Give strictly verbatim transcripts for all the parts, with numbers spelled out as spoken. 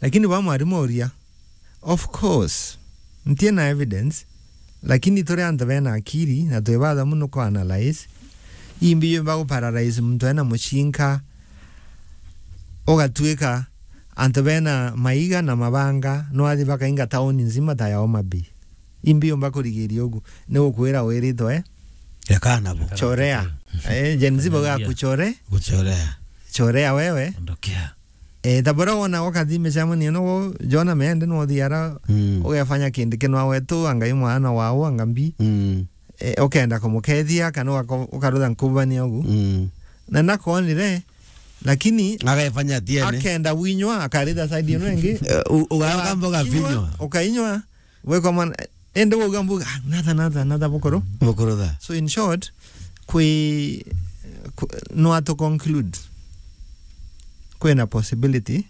Lakini ba mwarimu uria, of course, ntie na evidence, lakini turi antu bena akiri na twi batha muno ku analyze, imbi yumba gu paralyze muntu ena mucinka, ugatuika antu bena maiga na mabanga, no athi bakainga tauni nzima ta ya Homa Bay. Imbi yumba kurigiria ugu, ni gukwira wiritwe, eh? Ekana bo. Chorea. Eh, Gen Z bauga kuchore. Kuchorea. Chorea wewe. Ondokea. Eh, ta bora wona wakathi micemanio no, Jona mende no thiara, mm, ugefanya kindu kinwa wetu, anga i mwana wao, anga mbi. Mm. Eh, ukenda kumukethia, kana ugako-, ukarutha nkubania ugu. Mm. Na nakwonire, lakini agefanya atiene. Akenda winywa, akaritha side ino ingi. Eh, u-, ugaka mboga kinywa, vinywa. Ukainywa, wekwa mwana, ende wauga mbuga, "Ah, natha, natha, natha bukuru." Bukuru tha. So in short, kwi, kwi, no to conclude, kwina possibility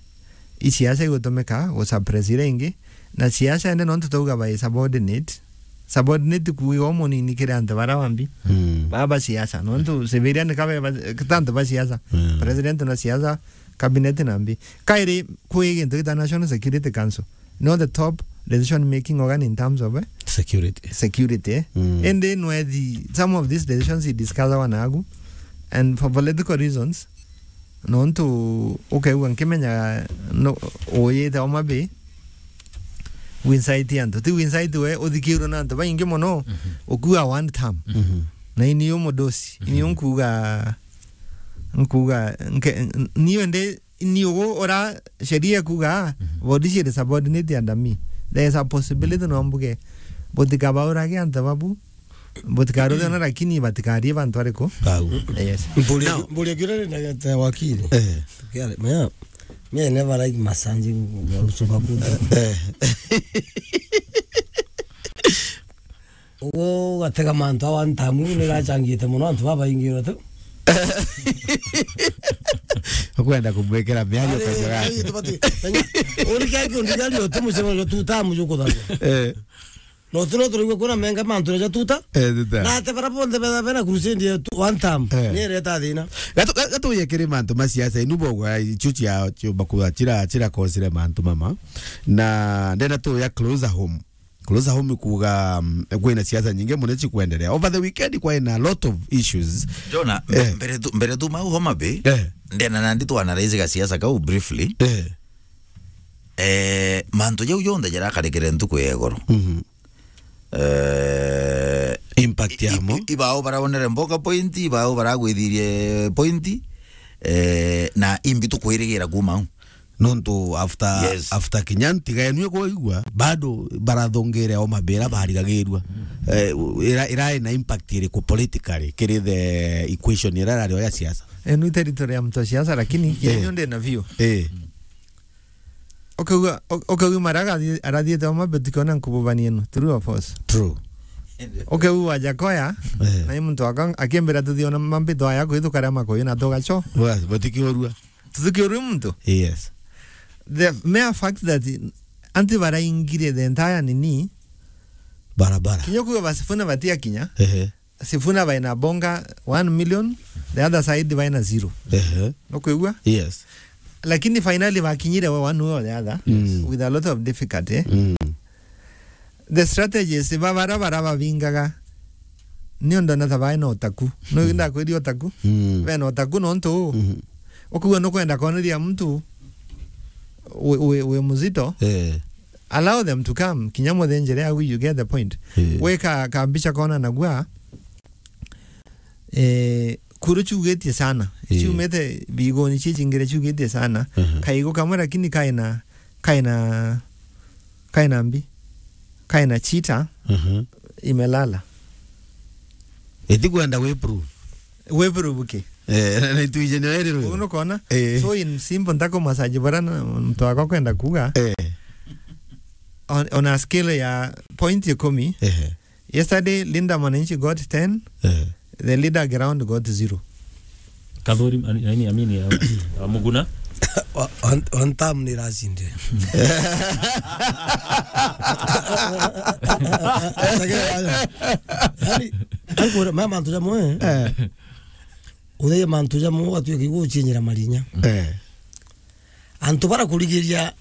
i siasa igutumika gu suppress iria ingi, na siasa ende nontu twauga bai subordinate, subordinate kuuga umunini kiri antu bara bambi, mm, baba siasa, nontu civilian kabe ba-, ta antu ba siasa, mm, president na siasa, cabinet na mbi. Kairi kwi gintu gita National Security Council, no the top decision making organ in terms of, eh, security. Security, eh? Mm. Indi nwethi, some of these decisions i discussagwa nagu, and for political reasons, nontu ukeigua nkimenya no, uyite Homa Bay, wincite antu. Ti wincite we, uthikirwe na antu baingi mono, mhm, ukua one term. Mhm. Na ini umudosi, ini, mhm, unkuga, nkuga, nke-, n-, niyo ndi ni ugu ura sheria ikuga, mhm, body ciri subordinate under me. There is a possibility no mbuge, butikabaurage antu babu, butikaruthe ona, lakini batikarie bantu ariku? Bau. Yes. Mburi, now, mburi kira ni na wakili. Eh. Tukiare, mea, me never like massaging, usuka kuda. Eh. Ugu ugatega mantu a one time, ni gacangite mono antu babaingirwe tu. Ukwenda kumwikira miario. Ari, kanjagani. Ari, tubati, menya, uri kia kiundi gari uti mucemanio two term jukuthagwa. Eh. No turo turigwe kuna menga mantu ja two term. Eh, two term. Na ate bara bonthe betha bena crusade ya tu-, one term. Eh. Ni ireta thina. Gatu-, ga-, gatuye kiri mantu ma siasa, inu bogwa ichu cia, cio bakuga chira, chira kosire mantu mama. Na ndena tu ya closer home. Closer home kuga, mm, kwina siasa nyingi mono chikwendelea. Over the weekend kwaina a lot of issues. Jona, mbe-, eh, mbere tu, mbere tu mau Homa Bay, eh, ndena nandi tu analyze ga siasa kau briefly. Eh. Eh, mantu jau jonthe jarakarikire ntuku ya igoro. Mhm. Eh, impact i-, yamo. I-, ibao baraonere mboka point, ibao baragwithirie point, eh, na imbi tukwirigira kuma au. Nontu after, yes, after kinya ntiga enu ikuigua, bado barathongere o mabira barigagirua. Eh, ira, ira ina impact iriku politically kiri the equation ira irario ya siasa? Enu i territory ya mtu wa siasa, lakini, eh, kienyu ndi na view. Eh. Ukauga, u-, ukauga mara arathi-, arathiete o mabe tukiona nkububania ino. True or false? True. Ukauga Wajakoya, eh, na i muntu aka-, akimbira tuthiona mambito aya kwithuka ria makuyu na tugacho. Bas, batikiurua. Tuthukiurue muntu? Yes. The mere fact that anti baraingire the entire nini, barabara. Kinya kuga ba Sifuna batia kinya. Ehe. Sifuna baina bonga one million, the other side baina zero. Ehe. Nukwigua? Yes. Lakini finally bakinyire we one way or the other, mm, with a lot of difficulty. Mm. The strategies ba bara, bara babingaga, ni undu na ta bae na utaku. No, mm, ndakwiri utaku? Mm. Be na utaku nontu, mm-hmm, ukugua nukwenda koneria muntu wi, wi, wi muzito. Eh. Allow them to come. Kinya muthenjere au, you get the point. Eh. Weka kambicha kona nagua, eh, kuru chugetie sana. Eh. Chumete bigoni chichingire chugetie sana. Uh-huh. Kaigo kamwe lakini kaina, kaina, kaina mbi. Kaina chita. Uh-huh. Imelala. Eti kwenda we prove. We prove ki? Eh, na, na ituije ni werirwe. Uno kona? Eh. So in simple, ntako massage bara na mtu wako kwenda kuga. Eh. On, on a scale ya point ikumi. Eh. Yesterday, Linda Mwananchi got ten. Eh. The leader ground got zero. Kathuri, ani, ani, amini, ya, ya Muguna. O-, on, on term ni racinde. Yani, ankora, mama, mantu jamwe, eh. Eh. Utheye mantu jamwe, ugatuika igua uchinyira marinya. Eh. Antu bara kurigiria